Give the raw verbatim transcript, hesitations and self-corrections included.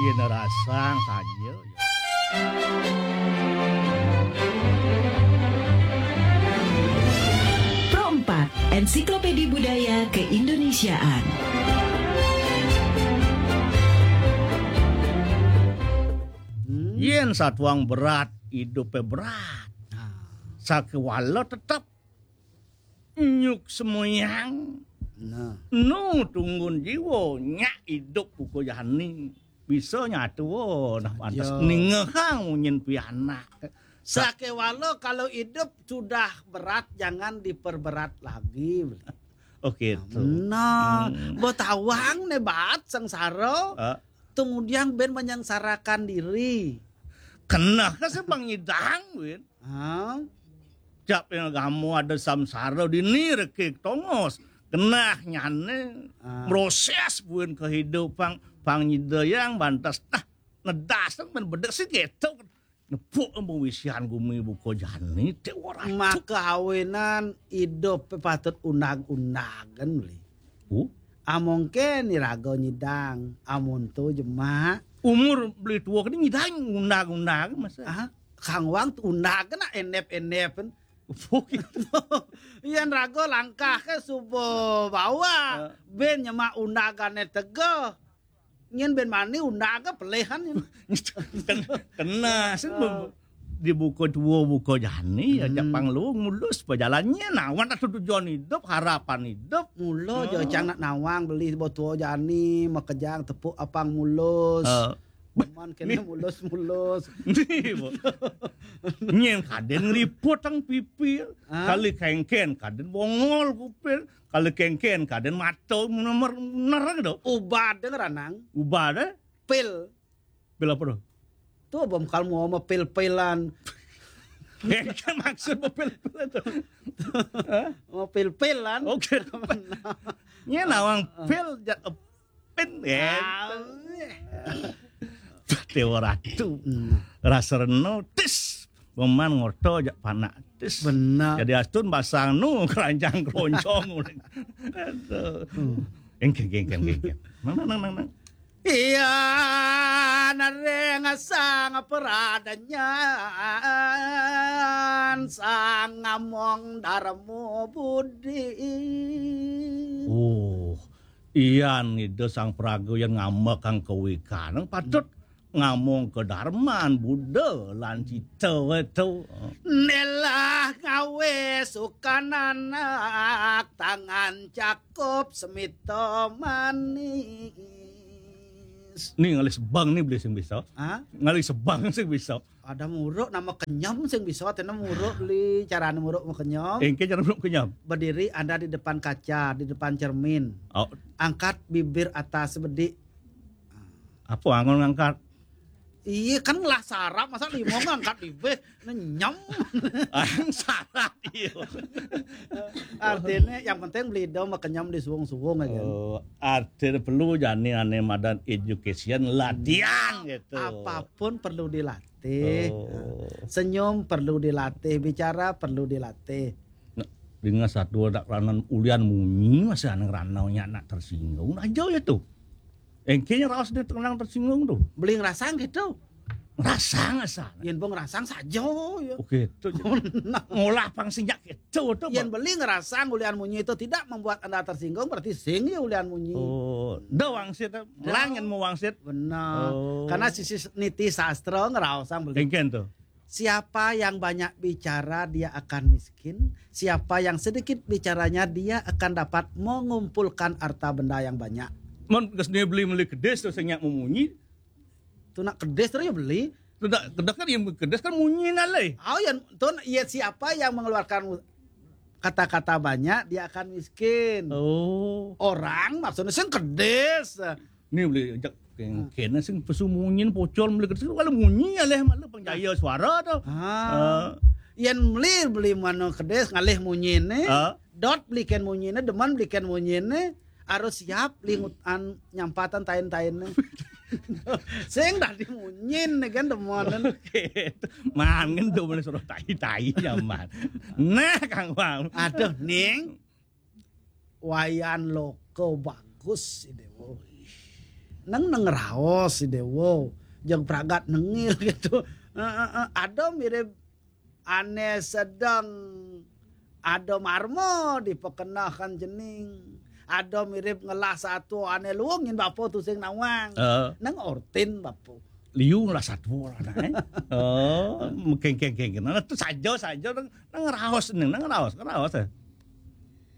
Yen rasang saja. Pro empat, Ensiklopedi Budaya Keindonesiaan. Hmm. Yen satuang berat, idupe berat. Nah. Sakewala tetep nyuk semoyang. Nah. Nu tunggun jiwa, nyak idup buka jani. Bisa nyatua, nah, pantes. Ya. Ningehang munyin pianak. Sakewala kalau hidup sudah berat, jangan diperberat lagi. Oke, tuh. Nah, hmm. Betawang ne baat sengsara. Ah. Kemudian ben menyengsarakan diri. Keneh ke sih Bang Idang, Win? Hah? Cap yang kamu ada samsara dini rekik tongos. Kenah nyane. Ah. Proses buin kehidupan pang nyidayang bantas. Nah, nedas kan men bedek sih gitu. Nepuk embu wisian gumi buka jani, te ora. Maka awenan idup patut undag-undagan, Beli. Uh? Among ke ni raga nyidang, amun tu jemak. Umur beli tua kini nyidang undag-undag masa. Ah, Kang Wang tu undag kena enep-enep kan. Bukan. Iyan raga langkah ke suba bawa. Ah. Ben nyemak undagane tega. Nyen ben mani undag ke pelehan nyen. Ken-, kena sih. Ah. Dibuka tua buka jani, ya, hmm. Japang lu mulus pejalannya. Nah, wan atu tujuan hidup, harapan hidup. Mula, oh. Jo cang nak nawang beli botua jani, makejang tepuk apang mulus. Ah. Man kena mulus-mulus. Ni, Bu. Nyen kaden ngeriput tang pipi. Ah. Kali kengken kaden bongol kupil. Kali kengken kaden mata nomor nerang tu. Ubad deh ranang. Ubad deh. Pil. Pil apa tu? Tu bom kalmu sama pil-pilan. Kengken maksud pil-pilan tu. Hah? Mau pil-pilan. Oke. Nyen nawang pil ja-, pin, ya. Ah. Dewa Ratu. Hmm. Rasa reno, tis. Peman ngoto jak panak, tis. Benar. Jadi astun basang nu keranjang keroncong. Aduh. Hmm. Engke, engke, engke, engke. Nang, nang, nang, nang, nang. Iya, nareng sang peradanyan, sang ngamong darmo budi. Oh, iyan ida sang praga yen ngambekang kawikan, patut ngamong kedarman Buddha lan cita wetu. Nelah ngawe sukan anak, tangan cakup semita manis. Ni ngalih sebang ni beli sing bisa. Ha? Ngalih sebang sing bisa. Ada muruk nama kenyem sing bisa, tena muruk li carane muruk mau kenyem. Engke cara muruk kenyem. Berdiri Anda di depan kaca, di depan cermin. Oh. Angkat bibir atas sebedik. Apa angon ngangkat? Iya kan ngelah sarap, masa limau ngangkat bibir, nenyem. Ang sarap iya. Artinya yang penting beli dong mau kenyem di suwung-suwung aja. Oh, artinya perlu jani ane madan education latihan gitu. Apapun perlu dilatih. Oh. Senyum perlu dilatih, bicara perlu dilatih. Nah, dengan satu dak ranan ulian munyi masih ane ranau nya anak tersinggung aja ya tuh. Engkenya raos dia tenang tersinggung tuh. Beli ngerasang gitu. Ngerasang asa. Yen bong ngerasang saja ya. Oke, tuh. Ngolah pang sinjak gitu tuh. Yen beli ngerasang ulian munyi itu tidak membuat Anda tersinggung, berarti sing ya ulian munyi. Oh, dah wangsit, eh. Dah. Langen mau wangsit. Benar. Oh. Karena sisi niti sastra ngeraosang beli. Engken tuh. Siapa yang banyak bicara, dia akan miskin. Siapa yang sedikit bicaranya, dia akan dapat mengumpulkan harta benda yang banyak. Mon kesne beli meli kedis terus nyak memunyi. Tu nak kedis terus ya beli. Tu nak kedis kan yang kedis kan munyi nalai. Oh ya, tu ya siapa yang mengeluarkan kata-kata banyak, dia akan miskin. Oh. Orang maksudnya sing kedis. Ni boleh jak kena sing pesu munyin pocol boleh kedis kalau munyi aleh malu penjaya suara tu. Ah. Ah. Yan beli beli mana kedis ngalih munyin ni. Ah. Dot belikan munyin ni, deman belikan munyin ni. Harus siap lingut an nyampatan tain-tain ni. Sing dah dimunyin ni kan deman. Oke. Mangen tu boleh suruh tai-tai nyaman. Nah, Kang Bang. Aduh, Ning. Wayan loko bagus ini, woi. Neng neng raos si Dewo, jeng pragat nengil gitu. Ada mirip ane sedang ada marmo dipekenahan jening. Ada mirip ngelah satu ane luungin bapo tusing nawang. Neng ortin bapo. Liu ngelah satu lah, eh. Oh, mengkengkeng-kengkeng. Nah, tu saja, saja, neng, neng raos, neng, neng raos, raos, eh.